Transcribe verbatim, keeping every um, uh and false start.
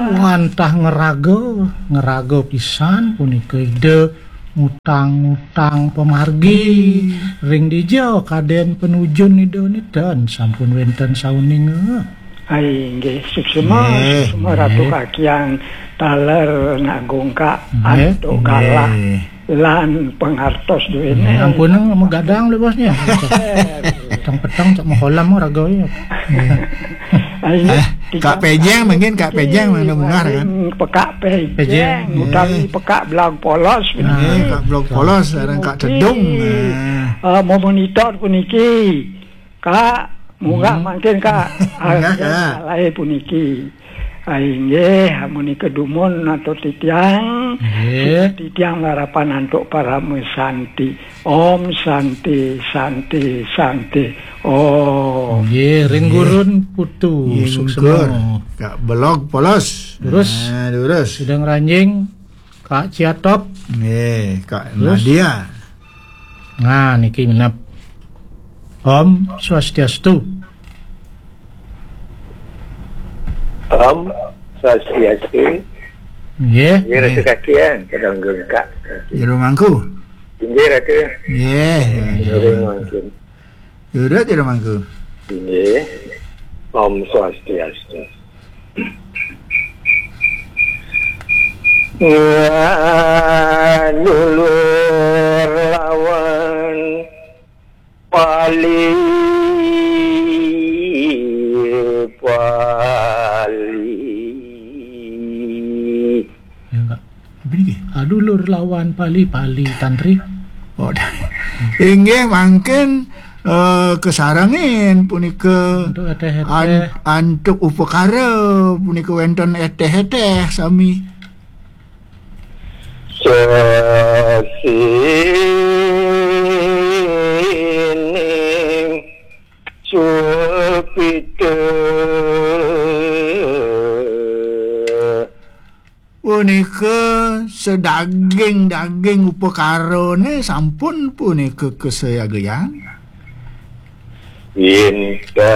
Wantah ngeraga, ngeraga pisan punika Ida ngutang-ngutang pamargi ring dija kaden panujun Ida niten sampun wenten sauninga. Ai, nggih, suksma, Nggih, suksma Ratu nggih. Kakiang taler ngagung Kak Nggih, Antuk Galak nggih. Lan pangartos duene. Nggih, ampun, magadang lho, bosnya. Petang-petang cak makolam raganya. Ai, Eh, Kak Pejeng mungkin, Kak Pejeng mana munggah kan? Pekak Pejeng, Pejeng. Utawi Pekak Blag Polos. Nggih, Kak Blag Polos, sareng Kak Tedung. Nah. Eh, mau monitor puniki. Kak, munggah Hmm. mangkin, Kak. Munggah, Kak. Alai puniki. Ah, inggih, amunika dumun atur titiang. Nggih. Titiang larapan antuk parama santi. Om Santi, Santi, Santi. Om. Nggih, ring Nggih. Gurun Putu. Nggih, suksma. Mungkur. Kak Belog Polos. Terus? Nah, terus. Sidang Ranjing, Kak Ciatop. Nggih, Kak Terus? Nadia. Nah, niki minap. Om Swastiastu. Om Swastiastu. Nggih. Nggih, Ratu Kakian, kadang gengkak. Jero mangku. Inggih, Ratu. Nggih. Jero mangkin. Jero, jero mangku. Inggih. Om Swastiastu. Nganulur lawan Pali, Pali. Ya, Kak. Apa niki? Adulur lawan Pali, Pali Tantri. Oh, inggih mangkin, eh, kasarengin punika Antuk eteh-eteh. An-, antuk upakara punika wenten eteh-eteh sami. Sesining sulpita. Punika sedaging-daging upakarane sampun punika kasayagayang. Yén ta